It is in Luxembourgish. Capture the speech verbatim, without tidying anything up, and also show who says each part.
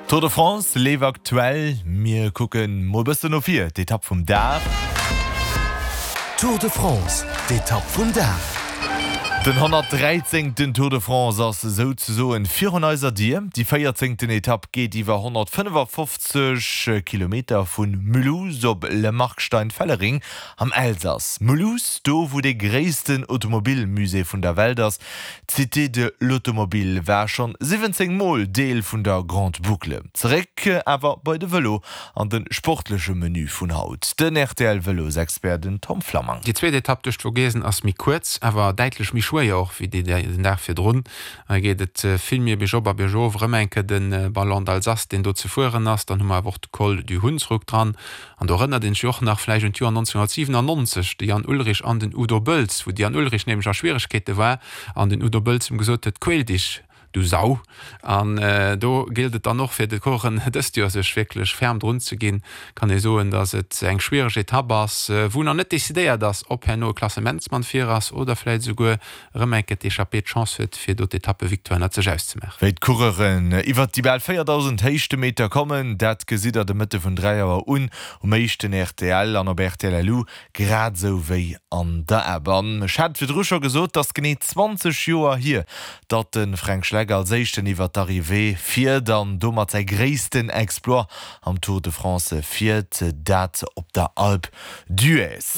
Speaker 1: Tour de France leeft aktuell, mir kucken mol bëssen no vir, d'Etapp vum Dag.
Speaker 2: Tour de France, d'Etapp vum Dag.
Speaker 1: Den honnertdräizéngten Tour de France ass souzesoen virun eiser Dier. Déi véierzéngten Etapp geet iwwer honnertfënnefafofzeg Kilometer vu Mulhouse op Le Markstein-Fellering am Elsass. Mulhouse, do wou dee gréissten Automobilmusée vun der Welt ass, d'Cité de l'Automobile, war schonn siwwenzéng Mol Deel vun der Grande Boucle. Zeréck awer bei de Vëlo an de sportleche Menu vun haut, den R T L-Vëlosexpert, den Tom Flammang.
Speaker 3: Déi zweet Etapp duerch d'Vogesen ass méi kuerz, awer däitlech méi schwéier och wéi déi den Dag virdrun. Hei geet et vill méi biergop a biergof, erëm eng Kéier de Ballon d'Alsace, deen do ze fueren ass. Dann hu mer awer och de Col du Hunsrück dran. An do erënnert een sech och nach vläicht un d'Joer nonzénhonnertsiwenannonzeg, de Jan Ullrich an den Udo Bölts, wou de Jan Ullrich nämlech a Schwieregkeete war an den Udo Bölts em gesot huet, Quäl dich, du Sau. An do gëllt et dann och fir de Coureuren dëst Joer sech wierklech ferm drun ze ginn. Kann ee soen, datt et eng schwiereg Etapp ass, wou nach net decidéiert ass, ob herno e Klassementsmann vir ass oder vläicht esouguer erëm eng Kéier d'Echappée d'Chance huet, fir do d'Etappevictoire ënnert sech auszemaachen.
Speaker 1: Wéi d'Coureuren iwwert déi bal véierdausend Héichtemeter kommen, dat gesitt der de Mëtte vun dräi Auer un um éischten R T L an op R T L L U, grad esou wéi an der App. An ech hat virdru scho gesot, 't ass genee zwanzeg Joer hier, datt de Fränk Schleck als éischten iwwer d'Arrivée fiert an domat säi gréissten Exploit am Tour de France fiert, dat op der Alpe d'Huez.